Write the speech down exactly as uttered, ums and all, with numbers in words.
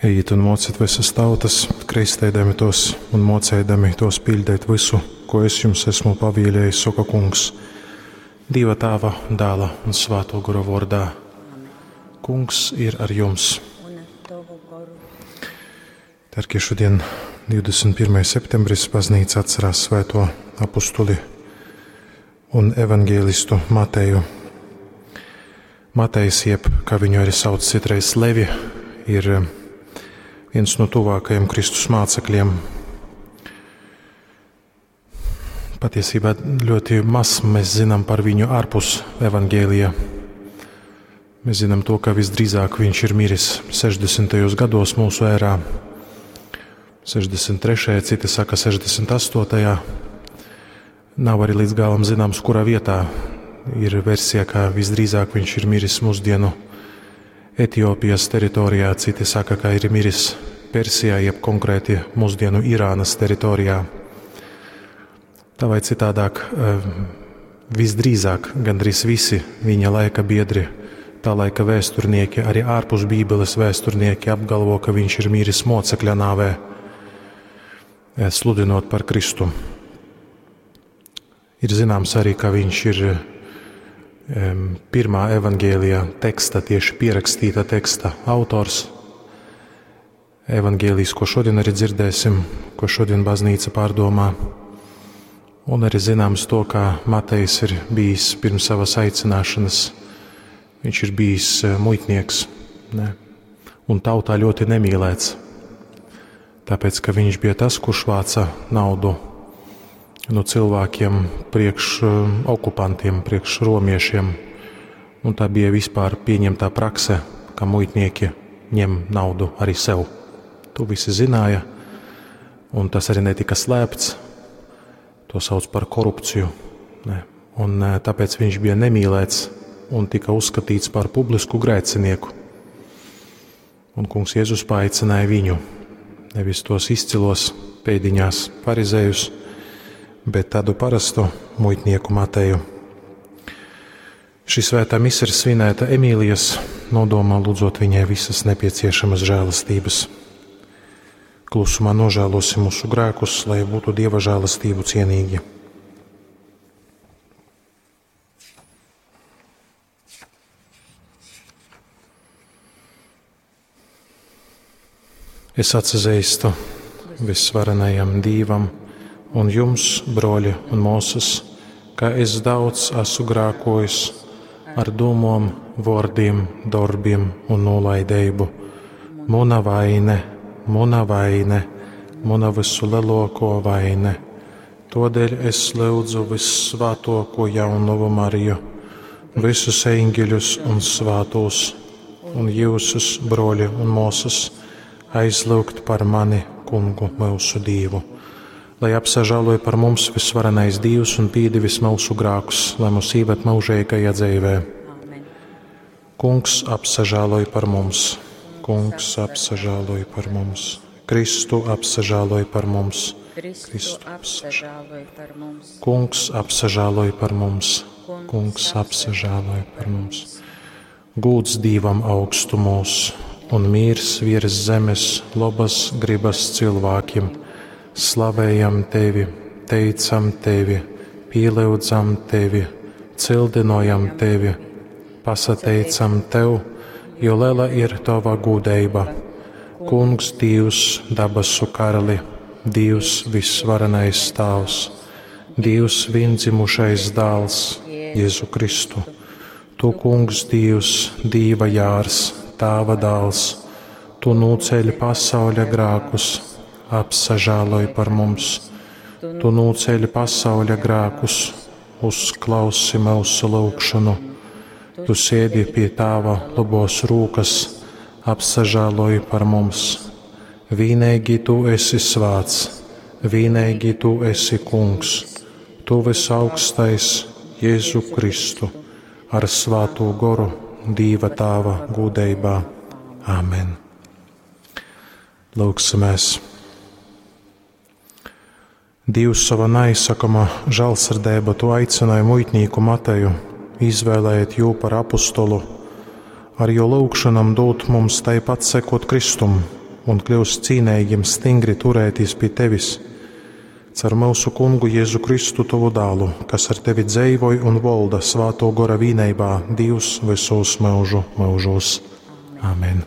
Ejit un mocit visas tautas, kristeidami tos un mocēdami tos pildēt visu, ko es jums esmu pavielējis, soka Kungs. Dieva Tāva, Dēla un Svāto Gora vārdā. Kungs ir ar jums. Un ar tavu goru. Darbie, šodien divdesmit pirmais septembris baznīca atcerās svēto apustuli un evangelistu Mateju. Matejs, jeb, kā viņu arī sauc citreiz Levi, ir viens no tuvākajiem Kristus mācekļiem. Patiesībā ļoti maz mēs zinām par viņu ārpus evangēlija. Mēs zinām to, ka visdrīzāk viņš ir miris sešdesmitajos gados mūsu ērā, sešdesmit trešajā, citi saka sešdesmit astotajā. Nav arī līdz galam zināms, kurā vietā. Ir versija, ka visdrīzāk viņš ir miris mūsdienu Etiopijas teritorijā, citi saka, ka ir miris Persijā, jeb konkrēti mūsdienu Irānas teritorijā. Tā vai citādāk, eh, visdrīzāk gandrīz visi viņa laika biedri, tā laika vēsturnieki, arī ārpus Bībeles vēsturnieki apgalvo, ka viņš ir miris mocekļa nāvē, eh, sludinot par Kristu. Ir zināms arī, ka viņš ir, em, pirmā evangēlijā teksta, tieši pierakstīta teksta autors. Evangēlijs, ko šodien arī dzirdēsim, ko šodien baznīca pārdomā. Un arī zināms to, kā Matejs ir bijis pirms savas aicināšanas. Viņš ir bijis, eh, muitnieks, ne? Un tautā ļoti nemīlēts. Tāpēc, ka viņš bija tas, kurš vāca naudu no cilvēkiem priekš, eh, okupantiem, priekš romiešiem. Un tā bija vispār pieņemtā prakse, ka muitnieki ņem naudu arī sev. To visi zināja, un tas arī netika slēpts. To sauc par korupciju. Ne? Un, eh, tāpēc viņš bija nemīlēts un tika uzskatīts par publisku grēcinieku. Un Kungs Jēzus paaicināja viņu, nevis tos izcilos pēdiņās farizējus, bet tādu parastu muitnieku Mateju. Šī svētā mise ir svinēta Emīlijas nodomā, lūdzot viņai visas nepieciešamas žēlastības. Klusumā nožēlosim mūsu grēkus, lai būtu Dieva žēlastību cienīgi. Es atzīstu visvarenajam Dievam un jums, broļi un māsas, ka es daudz esmu grēkojis ar domām, vārdiem, darbiem un nolaidību. Muna vaine, muna vaine, muna visu lielāko vaine. Todēļ es lūdzu vissvētāko jaunavu Mariju, visus eņģeļus un svētos, un jūsus, broļi un māsas, aizlūgt par mani, Kungu, mūsu Dievu. Lai apsažāloja par mums visvarenais Dievs un pīdivis mūsu grēkus, lai mūs ieved mūžīgajā dzīvē. Amen. Kungs apsažāloja par mums, Kungs apsažāloja par mums, Kristu apsažāloja par mums, Kristu Kristu apsažāloja par mums. Kungs apsažāloja par mums, Kungs apsažāloja par mums. Gūds Dievam augstumos un mīrs virs zemes labas gribas cilvēkiem. Slavējam tevi, teicam tevi, pielūdzam tevi, cildinojam tevi, pasateicam tev, jo liela ir tava gudrība. Kungs Dievs, dabasu karali, Dievs visvarenais Tēvs, Dievs viendzimušais dēls, Jēzu Kristu. Tu, Kungs Dievs, Dieva jārs, Tēva dēls, tu nūceļ pasauļa grēkus, apsažāloj par mums. Tu nūceļ pasauļa grēkus, uzklausi mūsu lūgšanu. Tu sēdi pie Tēva labos rūkas, apsažāloj par mums. Vienīgi tu esi svēts, vienīgi tu esi Kungs, tu visaugstais Jēzu Kristu, ar svēto goru Dieva Tēva gudrībā. Āmen. Lūgsimies. Dievs savā neizsakama žēlsirdība tu aicināja muitnieku Mateju, izvēlējiet jū par apostolu, ar jo lūgšanam dot mums taipat sekot Kristum, un kļyust cīneigim stingri turētīs pi Tevis. Caur myusu Kungu Jezu Kristu, Tovu Dālu, kas ar Tevi dzeivoj un volda Svātō Gora vīneibā, Dīvs vysūs myužu myužūs. Amen.